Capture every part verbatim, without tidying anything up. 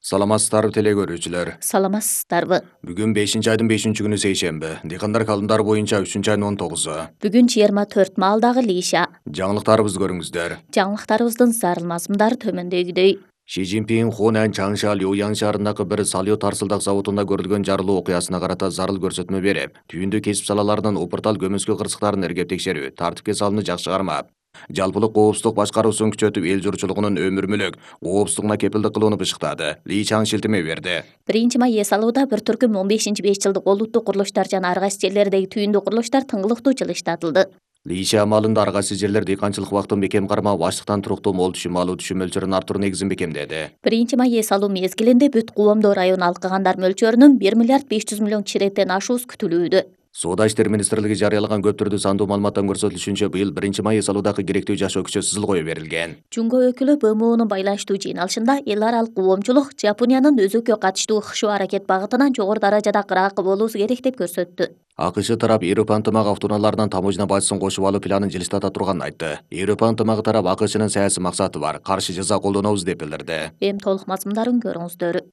Саламатсыздарбы теле көрүүчүлөр. Саламатсыздарбы. Бүгүн бешинчи айдын бешинчи күнү сейшемби. Дыйкандар калымдары боюнча үчүнчү айдын он тогузу. Бүгүн жыйырма төрт маалдагы лийша. Жаңылыктарыбызды көрүңүздөр. Жаңылыктарыбыздын зарыл мазмундары төмөндөгүдөй. Ши Цзиньпин Хунан Чаңша Люян шаарындагы бир салио тарсылдак заводунда көрүлгөн жарылуу окуясына карата зарыл көрсөтмө берип, түйүндү кесип салаларынын упуртал көмүскө кырсыктарын эргеп текшерүү, тартипке салууну жакшы кармап, жалпылык коопсуздук башкаруусун күчөтүп, эл журтчулугунун өмүр мүлк коопсуздугуна кепилдик кылууну бышыктады. Ли Чаң шилтеме берди. Биринчи май эс алууда бір түркүм он бешинчи беш жылдык олуттук курулуштар жана ар кайсы жерлердеги түйүндүү курулуштар тыңгылыктуу жылыштатылды. Лийша амалында ар кайсы жерлер дыйканчылык убактын бекем кармап, ачлыктан туруктуу мол түшүм алуу түшүм мөлчөрүн арттыруу негизин бекемдеди. Биринчи май эс алуу мезгилинде бүт Кубомдоо району алкагандар мөлчөрүнүн бир миллиард беш жүз миллион киши иреттен ашуусу күтүлүүдө. Соода иштери министрлиги жарыялаган көп түрдүү сандуу маалыматтан көрсөтүлүшүнчө, быйыл биринчи май эс алуудагы керектүү жашоо күчө сызыл кое берилген. Жумго өкүлү Б М Онун байланыштуу жыйналышында эл аралык коомчулук Жапониянын өзөккө катыштуу ыкшоо аракет багытынан жогору даражада кыраакы болуусу керек деп көрсөттү. АКШ тарап Европа ынтымагы автоунааларынан таможня бажысын кошуп алуу планын жылыстата турганын айтты. Европа ынтымагы тарап АКШнын саясий максаты бар, каршы жаза колдонобуз деп билдирди. Эми толук мазмундарын көрүңүздөр.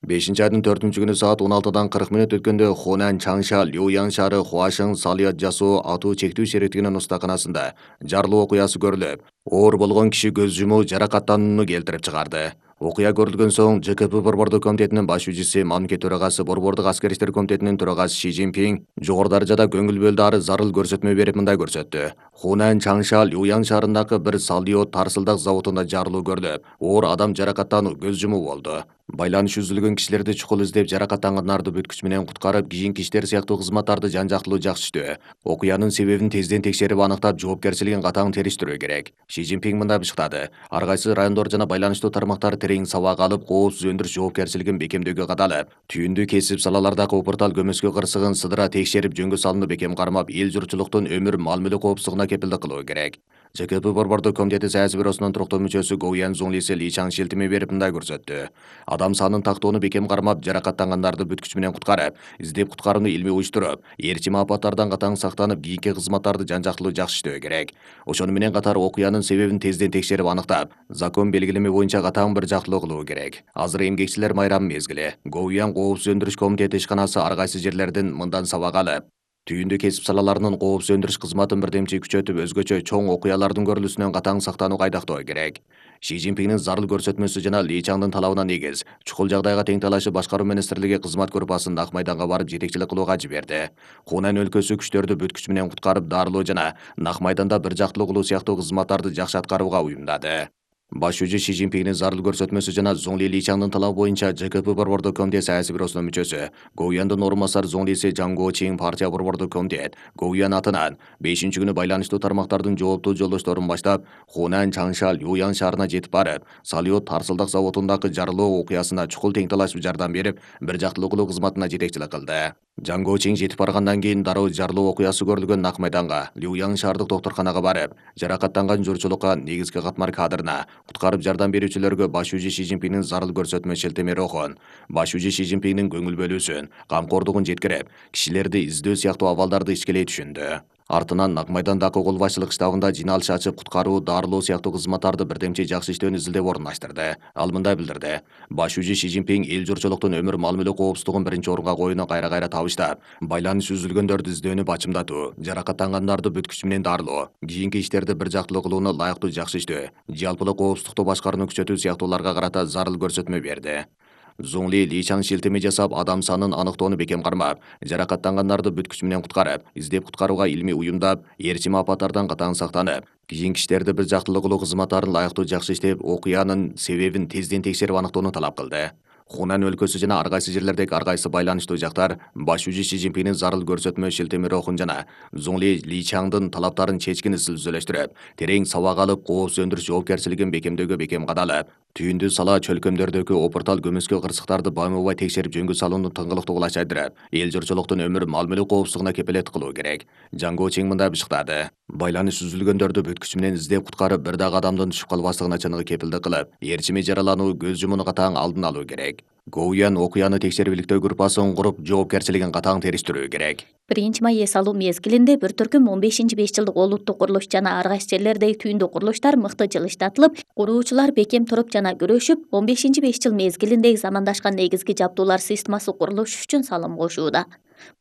бешинчи айдын төртүнчү күнү саат он алтыдан кырк мүнөт өткөндө Хунан Чаңша Люян шаары Хуашың салыят жасоо атуу чектүү сериктигинин устаканасында жарылуу окуясы көрүлүп, оор болгон киши көз жумуу, жаракаттанууну келтирип чыгарды. Окуя көрүлгөн соң Ж К П Борбордук комитетинин баш жүзүчүсү, мамлекет төрагасы, Борбордук аскер иштер комитетинин төрагасы Ши Цзиньпин жогору даражада көңүл бөлдү, ары зарыл көрсөтмө берип мындай көрсөттү. Хунан Чаңша Люян шаарындагы бир салио тарсылдак заводунда жарылуу көрүлүп, оор адам жаракаттануу, көз жумуу болду. Байланыш үзүлгөн кишилерди чукул издеп, жаракаттангандарды бүт күч менен куткарып, кийинки иштер сыяктуу кызматтарды жан-жактылуу жакшы иштөө, окуянын себебин тезден текшерип аныктап, жоопкерчилигин катаң териштирүү керек. Ши Цзиньпин мындай бышыктады. Ар кайсы райондор жана байланыштуу тармактар терең сабак алып, коопсуз өндүрүш жоопкерчилигин бекемдөөгө кадалып, түйүндүү кесип салалардагы упуртал көмөскө кырсыгын сыдыра текшерип, жөнгө салууну бекем кармап, эл журтчулуктун өмүр мал мүлк коопсуздугуна кепилдик кылуу керек. Ж К П Борбордук комитети саясий бюросунун туруктуу мүчөсү Го Ян Зуңлиси Ли Чаң шилтеме берип мындай көрсөттү. Адам санын тактоону бекем кармап, жаракаттангандарды бүт күч менен куткарып, издеп куткарууну илмий уюштуруп, ээрчим апаттардан катаң сактанып, кийинки кызматтарды жан-жактылуу жакшы иштөө керек. Ошону менен катар окуянын себебин тезден текшерип аныктап, закон белгилеме боюнча катаң бир жактылуу кылуу керек. Азыр эмгекчилер майрамы мезгили. Го Ян коопсуз өндүрүш комитети ишканасы ар кайсы жерлерден мындан сабак алып, түйүндүү кесип салаларынын коопсуз өндүрүш кызматын бирдемчи күчөтүп, өзгөчө чоң окуялардын көрүлүүсүнөн катаң сактануу кайдактоо керек. Ши Цзиньпиндин зарыл көрсөтмөсү жана Ли Чаңдын талабына негиз, чукул жагдайга тең талашы башкаруу министрлиги кызмат группасын Ак майданга барып жетекчилик кылууга жиберди. Хунан өлкөсү күчтөрдү бүт күч менен куткарып, дарылоо жана Ак майданда бир жактылуу кылуу сыяктуу кызматтарды жакшы аткарууга уюмдады. Баш жүзүчү Ши Цзиньпиндин зарыл көрсөтмөсү жана Зуңли Ли Чаңдын талабы боюнча Ж К П Борбордук комитет саясий бюросунун мүчөсү, Го Яндын орун басары Зуңлиси Жаң Го Чин партия Борбордук комитет Го Ян атынан бешинчи күнү байланыштуу тармактардын жооптуу жолдошторун баштап, Хунан Чаңша Люян шаарына жетип барып, салиот тарсылдак заводундагы жарылуу окуясына чукул тең талашып жардам берип, бир жактылуу кылуу кызматына жетекчилик кылды. Жаң Го Чин жетип баргандан кийин дароо жарылуу окуясы көрүлгөн Ак майданга, Люян шаардык доктурканага барып, жаракаттанган журтчулукка, негизги катмар кадрына, куткарып жардам берүүчүлөргө баш жүзүчү Ши Цзиньпиндин зарыл көрсөтмө шилтеме рухун, баш жүзүчү Ши Цзиньпиндин көңүл бөлүүсүн, камкордугун жеткирип, кишилерди издөө сыяктуу абалдарды ичкелей түшүндү. Артынан Ак майдандагы кол башчылык штабында жыйналыш ачып, куткаруу, дарылоо сыяктуу кызматтарды бирдемчи жакшы иштөөнү изилдеп орундаштырды. Ал мындай билдирди. Баш жүзүчү Ши Цзиньпин эл журтчулуктун өмүр мал мүлк коопсуздугун биринчи орунга коюуну кайра-кайра табыштап, байланыш үзүлгөндөрдү издөөнү бачымдатуу, жаракаттангандарды бүт күч менен дарылоо, кийинки иштерди бир жактылуу кылууну ылайыктуу жакшы иштөө, жалпылык коопсуздукту башкарууну күчөтүү сыяктууларга карата зарыл көрсөтмө берди. Зуңли Ли Чаң шилтеме жасап, адам санын аныктоону бекем кармап, жаракаттангандарды бүт күч менен куткарып, издеп куткарууга илмий уюмдап, ээрчим апаттардан катаң сактанып, кийинки иштерди бир жактылуу кылуу кызматтарын ылайыктуу жакшы иштеп, окуянын себебин тезден текшерип аныктоону талап кылды. Хунан өлкөсү жана ар кайсы жерлердеги ар кайсы байланыштуу жактар баш жүзүчү Ши Цзиньпиндин зарыл көрсөтмө шилтеме рухун жана Зуңли Ли Чаңдын талаптарын чечкин изилдөөлөштүрүп, терең сабак алып, коопсуз өндүрүш жоопкерчилигин бекемдөөгө бекем кадалып, түйүндүү сала чөлкөмдөрдөгү опуртал көмөскө кырсыктарды байма-бай текшерип, жөнгө салууну тыңгылыктуу кулачайдырып, эл журтчулуктун өмүр мал мүлк коопсуздугуна кепилет кылуу керек. Жаң Го Чин мындай бышыктады. Байланыш үзүлгөндөрдү бүт күч менен издеп куткарып, бир дагы адамдын түшүп калбастыгына чыныгы кепилдик кылып, ээрчими жаралануу, көз жумууну катаң алдын алуу керек. Гоуян окуяны текшерүүлүктөө группасын куруп, жоопкерчилигин катаң териштирүү керек. биринчи май эс алуу мезгилинде бир түркүм он бешинчи беш жылдык олуттук курулуш жана ар кайсы жерлердеги түйүндү курулуштар мыкты жылыштатылып, куруучулар бекем туруп жана күрөшүп, он бешинчи беш жыл мезгилиндеги замандашкан негизги жабдуулар системасы курулушу үчүн салым кошууда.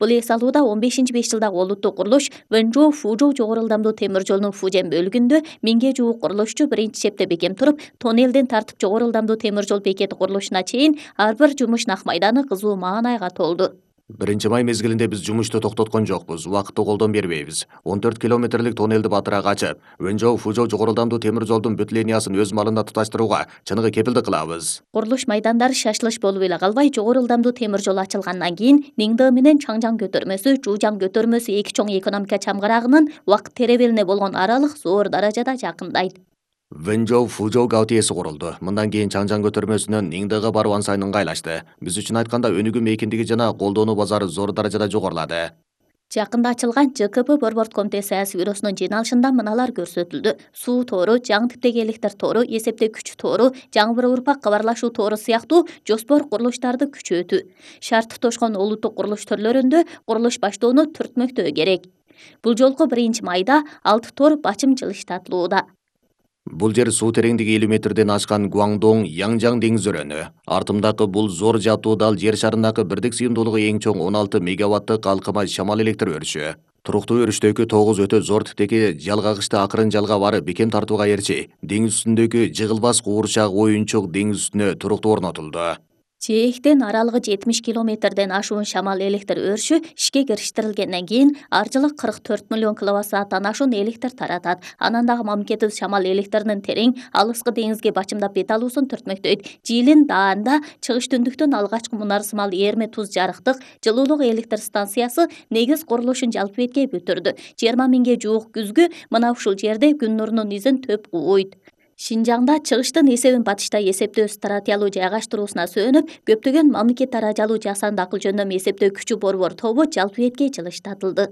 Бул эс алууда он бешинчи беш жылдагы олуттук курулуш Вэнжоу Фужоу жогору ылдамдуу темир жолунун Фужен бөлүгүндө миңге жуук курулушчу биринчи чепте бекем туруп, тоннелден тартып жогору ылдамдуу темир жол бекети курулушуна чейин ар бир жумуш нак майданы кызуу маанайга толду. биринчи май мезгилинде биз жумушту токтоткон жокпуз, убакытты колдон бербейбиз. он төрт километрлик тоннелди батыраак ачып, Вэнжоу Фужоу жогору ылдамдуу темир жолдун бүт линиясын өз малында туташтырууга чыныгы кепилдик кылабыз. Курулуш майдандары шашылыш болуп эле калбай, жогору ылдамдуу темир жол ачылгандан кийин Ниңде менен Чаңжаң көтөрмөсү, Жужаң көтөрмөсү эки чоң экономика чамгарагынын убакыт теребелине болгон аралык зор даражада жакындайт. Вэнжоу Фужоу гаутиеси курулду. Мындан кийин Чаңжаң көтөрмөсүнөн Ниңдеге баруу сайын ыңгайлашты. Биз үчүн айтканда өнүгүү эркиндиги жана колдонуу базары зор даражада жогорулады. Жакында ачылган Ж К П борборд комитети саясий бюросунун жыйналышында мыналар көрсөтүлдү. Суу тору, жаңы типтеги электр тору, эсептөө күч тору, жаңы бир урпак кабарлашуу тору сыяктуу жоспор курулуштарды күчөтүү. Шарт тошкон олуттук курулуш төрлөрүндө курулуш баштоону түртмөктөө керек. Бул жолку биринчи майда алты тор бачым жылыштатылууда. Бул жер суу тереңдиги элүү метрден ашкан Гуаңдоң Янжаң деңиз өрөөнү. Артымдагы бул зор жаптуу дал жер шарындагы бирдик сыйымдуулугу эң чоң он алты мегаваттык калкыма шамал электр өрүшү. Туруктуу өрүштөгү тогуз өтө зор типтеги жалгагычты акырын жалга барып бекем тартууга эрчи, деңиз үстүндөгү жыгылбас куурчак оюнчук деңиз үстүнө туруктуу орнотулду. Жээктен аралыгы жетимиш километрден ашуун шамал электр өрүшү ишке кириштирилгенден кийин ар жылы кырк төрт миллион киловатт сааттан ашуун электр таратат. Анан дагы мамлекетибиз шамал электринин терең, алыскы деңизге бачымдап бет алуусун түртмөктөйт. Жиилин даанда чыгыш түндүктөн алгачкы мунар сымал Эрме туз жарыктык жылуулук электр станциясы негиз курулушун жалпы бетке бүтүрдү. жыйырма миңге жуук күзгү мына ушул жерде күн нурунун изин төп кууйт. Шинжаңда чыгыштын эсебин батышта эсептөө стратиялуу жайгаштыруусуна сөөнүп, көптөгөн мамлекет даражалуу жасанды акыл жөндөмү эсептөө күчү борбор тобу жалпы бетке жылыштатылды.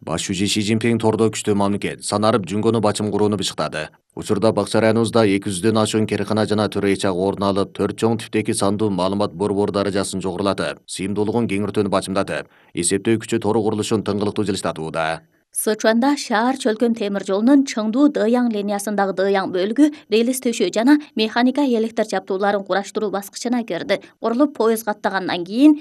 Баш шүүжү Ши Цзиньпин тордо күчтүү мамлекет санарып жүнгөнү бачым курууну бышыктады. Учурда Бакча районубузда эки жүздөн ашуун керкана жана төрөйчак орун алып, төрт чоң типтеги сандуу маалымат борбор даражасын жогорулатып, сыйымдуулугун кеңиртүүнү бачымдатып, эсептөө күчү тору курулушун тыңгылыктуу жылыштатууда. Сычуанда шаар чөлкөн темир жолунун Чыңдуу Дыяң линиясындагы Дыяң бөлүгү релис төшөө жана механика электр жабдууларын кураштыруу баскычына кирди. Курулуп поезд каттагандан кийин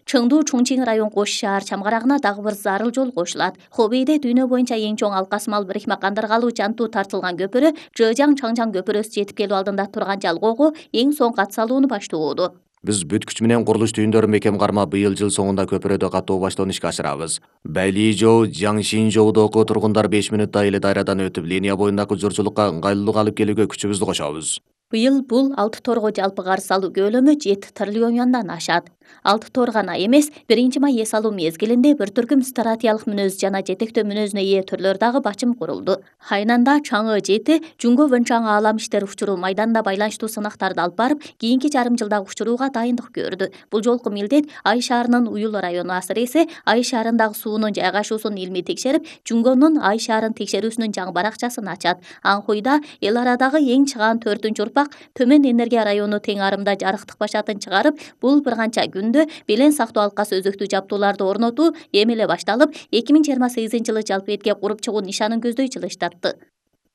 Чыңдуу Чуңчиң район кош шаар чамгарагына дагы бир зарыл жол кошулат. Хобейде дүйнө боюнча эң чоң алкасмал бирикме кандыргалуу жантуу тартылган көпүрө Жыжаң Чаңжаң көпүрөсү жетип келүү алдында турган жалгоого эң соң кат салууну баштоодо. Биз бүт күч менен курулуш түйүндөрүн бекем кармап, быйыл жыл соңунда көпүрөдө каттоо баштоон ишке ашырабыз. Бәйлижоу, Жаңшинжоудогу тургундар беш мүнөттө эле дайрадан өтүп, линия боюндагы журчулукка ыңгайлуулук алып келүүгө күчүбүздү кошобуз. Быйыл бул алты торго жалпы карыз салуу көлөмү жети триллион юандан ашат. Алты тор гана эмес, биринчи май эс алуу мезгилинде бир түркүм стратегиялык мүнөз жана жетектөө мүнөзүнө ээ түрлөр дагы бачым курулду. Хайнанда Чаңы жети Жунго Вэнчаң аалам иштери учуруу майданда байланыштуу сынактарды алып барып, кийинки жарым жылдагы учурууга дайындык көрдү. Бул жолку милдет Ай шаарынын Уюл району асыресе, Ай шаарындагы суунун жайгашуусун илмий текшерип, Жунгонун Ай шаарын текшерүүсүнүн жаңы баракчасын ачат. Анхуйда эл арадагы эң чыгаан төртүнчү урпак Төмөн энергия району тең арымда жарыктык башатын чыгарып, бул бир канча күндө белен сактоо алкасы өзөктүү жабдууларды орнотуу эми эле башталып, эки миң жыйырма сегизинчи жылы жалпы бетке куруп чыгуу нишанын көздөй жылыштатты.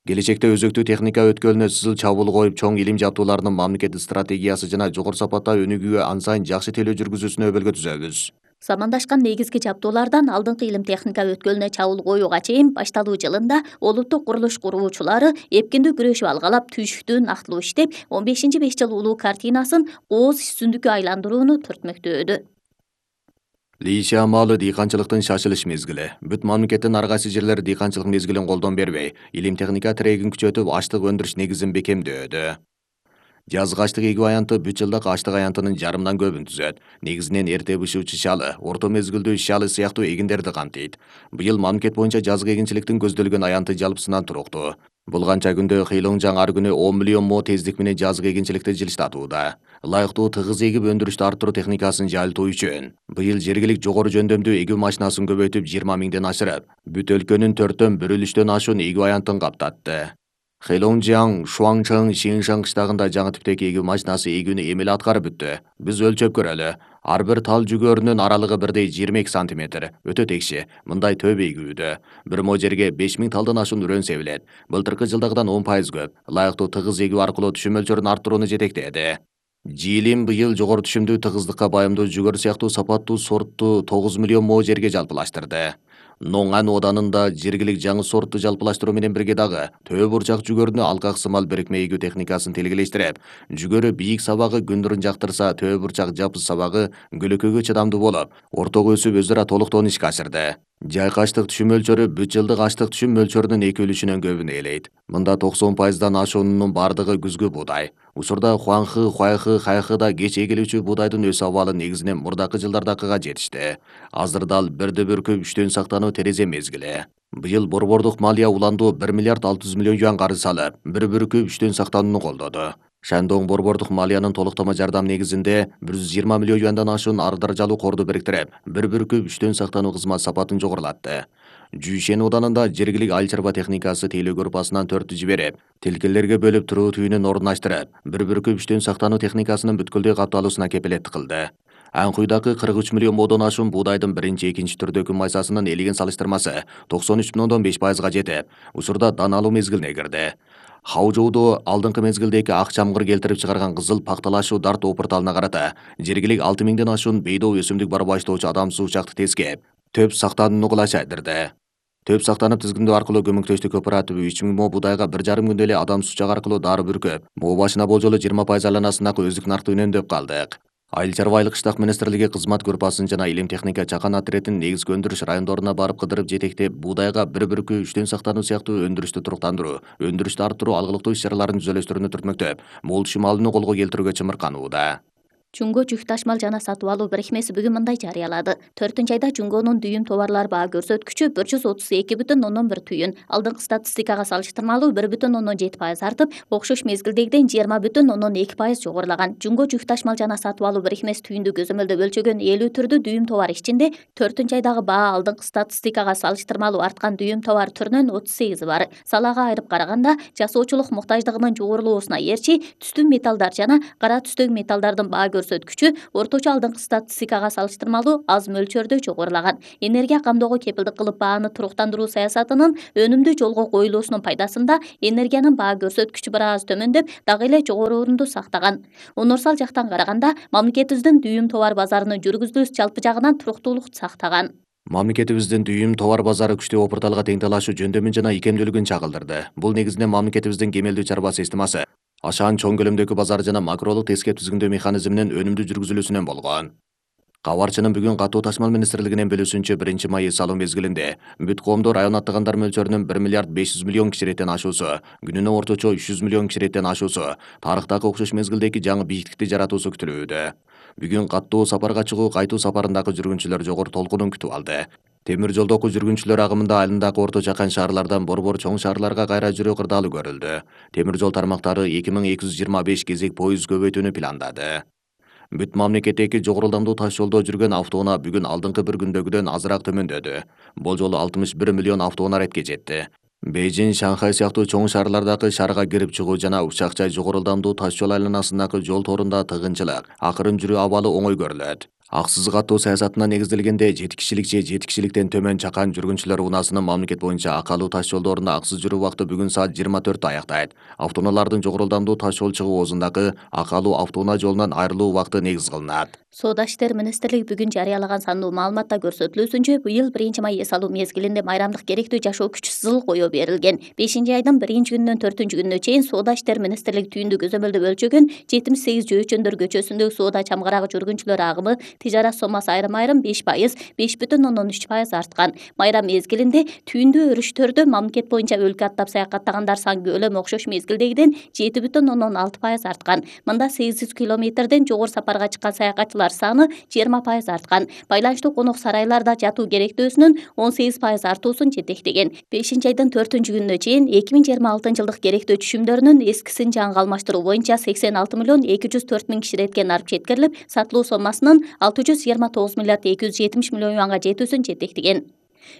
Келечекте өзөктүү техника өткөлүнө сызыл чабуул коюп, чоң илим жабдууларынын мамлекеттик стратегиясы жана жогору сапатта өнүгүүгө ан сайын жакшы телөө жүргүзүүсүнө өбөлгө түзөбүз. Замандашкан негизги жабдуулардан алдыңкы илим техника өткөлүнө чабуул коюуга чейин башталуу жылында олуттук курулуш куруучулары эпкиндүү күрөшүп алгалап, түйшүктүү нактылуу иштеп, он бешинчи беш жыл улуу картинасын кооз үстүндүккө айландырууну түртмөктөөдү. Лийши амалы дыйканчылыктын шашылыш мезгили. Бүт мамлекеттин ар кайсы жерлери дыйканчылык мезгилин колдон бербей, илим техника тирегин күчөтүп, аштык өндүрүш негизин бекемдөөдү. Жазгы аштык эгүү аянты бүт жылдык аштык аянтынын жарымдан көбүн түзөт. Негизинен эрте бышуучу шалы, орто мезгилдүү шалы сыяктуу эгиндерди камтыйт. Быйыл мамлекет боюнча жазгы эгинчиликтин көздөлгөн аянты жалпысынан туруктуу. Бул канча күндө Хыйлоңжаң ар күнү он миллион мо тездик менен жазгы эгинчиликти жылыштатууда. Ылайыктуу тыгыз эгип өндүрүштү арттыруу техникасын жайылтуу үчүн быйыл жергилик жогору жөндөмдүү эгүү машинасын көбөйтүп жыйырма миңден ашырып, бүт өлкөнүн төрттөн бир үлүштөн ашуун эгүү аянтын каптатты. Хэлонжиang, Шуаңчың, Шиншан кыштагында жаңы типтеги эгүү машинасы эгүүнү эмеле аткарып бүттү. Биз өлчөп көрөлү. Ар бир тал жүгөрүнүн аралыгы бирдей жыйырма эки сантиметр. Өтө текши. Мындай төп эгүүдө. Бир мо жерге беш миң талдан ашуун үрөн себилет. Былтыркы жылдагыдан он пайыз көп. Ылайыктуу тыгыз эгүү аркылуу түшүм мөлчөрүн арттырууну жетектеди. Жиилим быйыл жогору түшүмдүү тыгыздыкка байымдуу жүгөр сыяктуу сапаттуу сортту тогуз миллион мо жерге жалпылаштырды. Ноңан оданында жергилик жаңы сортту жалпылаштыруу менен бирге дагы төө бурчак жүгөрүнү алкак сымал бирикме эгүү техникасын тилгелештирип, жүгөрү бийик сабагы күндүрүн жактырса, төө бурчак жапыз сабагы көлөкөгө чыдамдуу болуп, ортого өсүп өзү ара толуктоон ишке ашырды. Жайкы ачтык түшүм мөлчөрү бүт жылдык ачтык түшүм мөлчөрүнүн эки үлүшүнөн көбүн ээлейт. Мында токсон пайыздан ашуунун бардыгы күзгү буудай. Учурда Хуаңхы, Хуайхы, Хайхыда кеч эгилүүчү буудайдын өс абалы негизинен мурдакы жылдардакыга жетишти. Азыр дал бирди бүркүп үчтөн сактануу терезе мезгили. Быйыл борбордук малия уландуу бир миллиард алты жүз миллион юан карыз салып, бир бүркүп үчтөн сактанууну колдоду. Шандон борбордук малиянын толуктама жардам негизинде бир жүз жыйырма миллион юандан ашуун ар даражалуу корду бириктирип, бир бүркүп үчтөн сактануу кызмат сапатын жогорулатты. Жүйшен оданында жергилик айыл чарба техникасы тейлөө группасынан төрттү жиберип, тилкелерге бөлүп туруу түйүнүн ордунаштырып, бир бүркүп үчтөн сактануу техникасынын бүткүлдөй капталуусуна кепилеттик кылды. Анкуйдагы кырк үч миллион модон ашуун буудайдын биринчи, экинчи түрдөгү майсасынын элеген салыштырмасы токсон үч бүтүн ондон беш пайызга жетип, учурда дан алуу мезгилине кирди. Хаужоудо алдыңкы мезгилдеги ак чамгыр келтирип чыгарган кызыл пакталашуу дарт опурталына карата жергилик алты миңден ашуун бейдоо өсүмдүк бар баштоочу адамсыз учакты тескеп, төп сактанууну кулаш айдырды. Төп сактанып тизгиндөө аркылуу көмөктөштүк кооперативи үч миң мо буудайга бир жарым күндө эле адамсыз учак аркылуу дары бүркөп, мо башына болжолу жыйырма пайыз айланасындагы өздүк наркты үнөмдөп калдык. Айыл чарба айыл кыштак министрлиги кызмат группасын жана илим техника чакан отрядын негизги өндүрүш райондоруна барып кыдырып жетектеп, буудайга бир бүркүп үчтөн сактануу сыяктуу өндүрүштү туруктандыруу, өндүрүштү арттыруу алгылыктуу иш чараларын түзөлөштөрүнү түртмөктөп, мол түшүм алууну колго келтирүүгө чымырканууда. Жунго жүк ташмал жана сатып алуу бирикмеси бүгүн мындай жарыялады. төртүнчү айда Жунгонун дүйүм товарлар баа көрсөткүчү бир жүз отуз эки бүтүн ондон бир түйүн, алдыңкы статистикага салыштырмалуу бир бүтүн ондон жети пайыз артып, окшош мезгилдегиден жыйырма бүтүн ондон эки пайыз жогорулаган. Жунго жүк ташмал жана сатып алуу бирикмеси түйүндү көзөмөлдөп өлчөгөн элүү түрдүү дүйүм товар ичинде төртүнчү айдагы баа алдыңкы статистикага салыштырмалуу арткан дүйүм товар түрүнөн отуз сегизи бар. Салага айырып караганда, жасоочулук муктаждыгынын жогорулоосуна ээрчи түстүү металлдар жана кара түстөгү металлдардын баа көрсөткүчү орточо алдыңкы статистикага салыштырмалуу аз мөлчөрдө жогорулаган. Энергия камдоого кепилдик кылып бааны туруктандыруу саясатынын өнүмдүү жолго коюлуусунун пайдасында энергиянын баа көрсөткүчү бир аз төмөндөп, дагы эле жогору орунду сактаган. Универсал жактан караганда, мамлекетибиздин дүйүм товар базарынын жүргүзүлүүсү жалпы жагынан туруктуулук сактаган. Мамлекетибиздин дүйүм товар базары күчтүү опурталга тең талашуу жөндөмүн жана икемдүүлүгүн чагылдырды. Бул негизинен мамлекетибиздин кемелдүү чарба системасы, ашаан чоң көлөмдөгү базар жана макролук тескеп түзгүндөө механизминин өнүмдүү жүргүзүлүүсүнөн болгон. Кабарчынын бүгүн катуу ташмал министрлигинин бөлүүсүнчө биринчи май эс алуу мезгилинде бүт коомдо район аттагандар мөлчөрүнүн бир миллиард беш жүз миллион киши реттен ашуусу, күнүнө орточо үч жүз миллион киши реттен ашуусу, тарыхтагы окшош мезгилдеги жаңы бийиктикти жаратуусу күтүлүүдө. Бүгүн каттуу сапарга чыгуу кайтуу сапарындагы жүргүнчүлөр жогору толкунун күтүп алды. Темир жолдогу жүргүнчүлөр агымында айылындагы орто жакан шаарлардан борбор чоң шаарларга кайра жүрүү кырдаалуу көрүлдү. Темир жол тармактары эки миң эки жүз жыйырма беш кезек поезд көбөйтүүнү пландады. Бүт мамлекеттеги жогору ылдамдуу таш жолдо жүргөн автоунаа бүгүн алдыңкы бир күндөгүдөн азыраак төмөндөдү. Болжолу алтымыш бир миллион автоунаа ретке жетти. Бейжин, Шанхай сыяктуу чоң шаарлардагы шаарга кирип чыгуу жана Ушакчай жогору ылдамдуу таш жол айланасындагы жол торунда тыгынчылык, акырын жүрүү абалы оңой көрүлөт. Аксыз каттоо саясатына негизделгенде жети кишилик же жети кишиликтен төмөн чакан жүргүнчүлөр унаасынын мамлекет боюнча акалуу таш жолдорунда аксыз жүрүү убакыты бүгүн саат жыйырма төрттө аяктайт. Автоунаалардын жогору ылдамдуу таш жол чыгуу оозундагы акалуу автоунаа жолунан айрылуу убакыты негиз кылынат. Соода иштер министрлиги бүгүн жарыялаган сандуу маалыматта көрсөтүлүүсүнчө, быйыл биринчи май эс алуу мезгилинде майрамдык керектүү жашоо күчү сызыл коюу берилген. бешинчи айдын биринчи күнүнөн төртүнчү күнүнө чейин Соода иштер министрлиги түйүндү көзөмөлдөп өлчөгөн жетимиш сегиз жөөчөндөр көчөсүндөгү соода чамгарагы жүргүнчүлөр агымы, тижарат сомасы айрым-айрым беш пайыз, беш бүтүн ондон үч пайыз арткан. Майрам мезгилинде түйүндүү өрүштөрдө мамлекет боюнча өлкө аттап саякаттагандар саны көлөмү окшош мезгилдегиден жети бүтүн ондон алты пайыз арткан. Мында сегиз жүз километрден жогору сапарга чыккан саякатчылар саны жыйырма пайыз арткан. Байланыштуу конок сарайларда жатуу керектөөсүнүн он сегиз пайыз артуусун жетектеген. бешинчи айдын төртүнчү күнүнө чейин эки миң жыйырма алтынчы жылдык керектөө түшүмдөрүнүн эскисин жаңыга алмаштыруу боюнча сексен алты миллион эки жүз төрт миң киши ретке нарып жеткирилип, сатылуу сомасынын алты жүз жыйырма тогуз миллиард эки жүз жетимиш миллион юанга жетүүсүн жетектеген.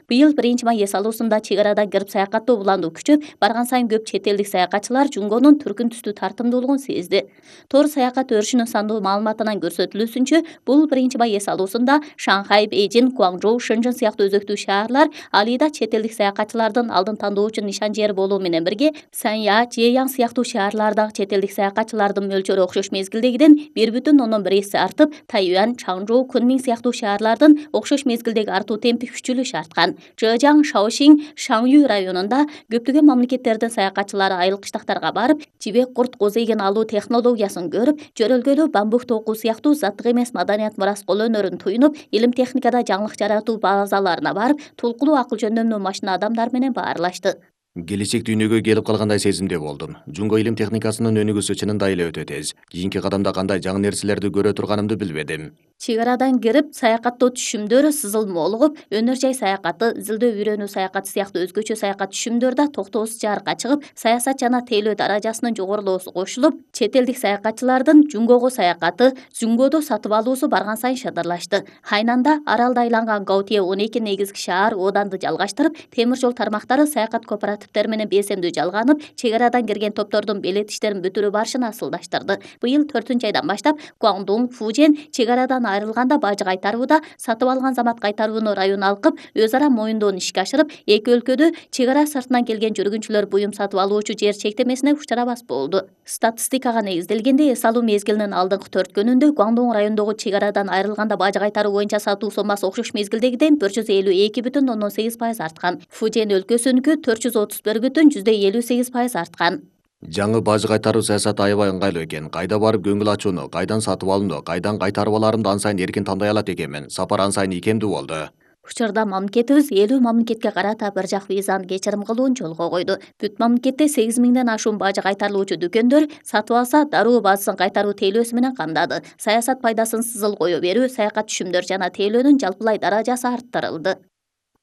Быйыл биринчи май эс алуусунда чек арадан кирип саякаттоо улануу күчөп, барган сайын көп чет элдик саякатчылар Жунгонун түркүн түстүү тартымдуулугун сезди. Тор саякат өрүшүнүн сандуу маалыматынан көрсөтүлүүсүнчө, бул биринчи май эс алуусунда Шанхай, Бейжин, Гуаңжоу, Шэньчжэн сыяктуу өзөктүү шаарлар алида чет элдик саякатчылардын алдын тандоочу нишан жери болуу менен бирге, Санья, Жеяң сыяктуу шаарлардагы чет элдик саякатчылардын мөлчөрү окшош мезгилдегиден бир бүтүн ондон бир эсе артып, Тайюань, Чаңжоу, Кунмин сыяктуу шаарлардын окшош мезгилдеги артуу темпи күчүлү шарткан. Чжэжяң, Шаошиң, Шаңюй районунда көптөгөн мамлекеттердин саякатчылары айыл кыштактарга барып, жибек курт козейген алуу технологиясын көрүп, жөрөлгөлүү бамбук токуу сыяктуу заттык эмес маданият мурас кол өнөрүн туйнуп, илим техникада жаңылык жаратуу базаларына барып, тулкулуу акыл жөндөмдүү машина адамдар менен баарлашты. Келечек дүйнөгө келип калгандай сезимде болдум. Жунго илим техникасынын өнүгүүсү чынында эле өтө тез. Кийинки кадамда кандай жаңы нерселерди көрө турганымды билбедим. Чек арадан кирип саякаттоо түшүмдөрү сызылмолугуп, өнөр жай саякаты, изилдөө үйрөнүү саякаты сыяктуу өзгөчө саякат түшүмдөр да токтоосуз жарыкка чыгып, саясат жана тейлөө даражасынын жогорулоосу кошулуп, чет элдик саякатчылардын Жунгого саякаты, Жунгодо сатып алуусу барган сайын шыдырлашты. Хайнанда аралда айланган Гаутие он эки негизги шаар ооданды жалгаштырып, темир жол тармактары саякат кооперативдери менен бесемдүү жалганып, чек арадан кирген топтордун белет иштерин бүтүрүү барышын асылдаштырды. Быйыл төртүнчү айдан баштап Гуаңдун, Фужен чек арадан айрылганда бажы кайтарууда сатып алган замат кайтарууну район алкып, өз ара моюндоону ишке ашырып, эки өлкөдө чек ара сыртынан келген жүргүнчүлөр буюм сатып алуучу жер чектемесине учурабас болду. Статистикага негизделгенде эс алуу мезгилинин алдыңкы төрт күнүндө Гуаңдун райондогу чек арадан айрылганда бажы кайтаруу боюнча сатуу соммасы окшош мезгилдегиден бир жүз элүү эки бүтүн ондон сегиз пайыз арткан. Фужен өлкөсүнүкү төрт жүз отуз бир бүтүн жүздө элүү сегиз пайыз арткан. Жаңы бажы кайтаруу саясаты аябай ыңгайлуу экен. Кайда барып көңүл ачууну, кайдан сатып алууну, кайдан кайтарып аларымды ан сайын эркин тандай алат экенмин. Сапар ан сайын ийкемдүү болду. Учурда мамлекетибиз элүү мамлекетке карата бир жак визаны кечирим кылуун жолго койду. Бүт мамлекетте сегиз миңден ашуун бажы кайтарылуучу дүкөндөр сатып алса дароо бажысын кайтаруу тейлөөсү менен камдады. Саясат пайдасын сызыл кое берүү, саякат түшүмдөр жана тейлөөнүн жалпылай даражасы арттырылды.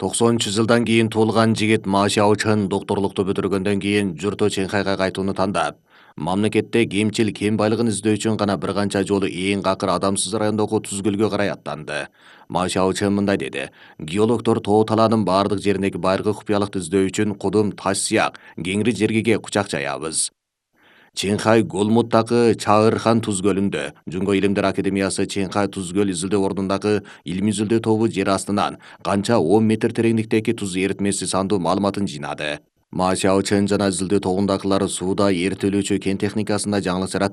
токсонунчу жылдан кийин туулган жигит Ма Шаочэн докторлукту бүтүргөндөн кийин журту Чэньхайга кайтууну тандап, мамлекетте кемчил кен байлыгын издөө үчүн гана бир канча жолу эң акыр адамсыз райондогу Туз көлгө карай аттанды. Ма Шаочэн мындай деди: геологдор тоо талаанын бардык жериндеги байыркы купуялыкты издөө үчүн кудум, таш сыяк кеңири жергеге кучак жаябыз. Чэньхай Голмуттагы Чаырхан Туз көлүндө Жунго илимдер академиясы Чэньхай Туз көл изилдөө ордундагы илимий изилдөө тобу жер астынан канча он метр тереңдиктеги туз эритмеси сандуу маалыматын жыйнады. Ма Шаочэн жана изилдөө тобундагылар сууда эритилүүчү кен техникасында жаңылык жаратып,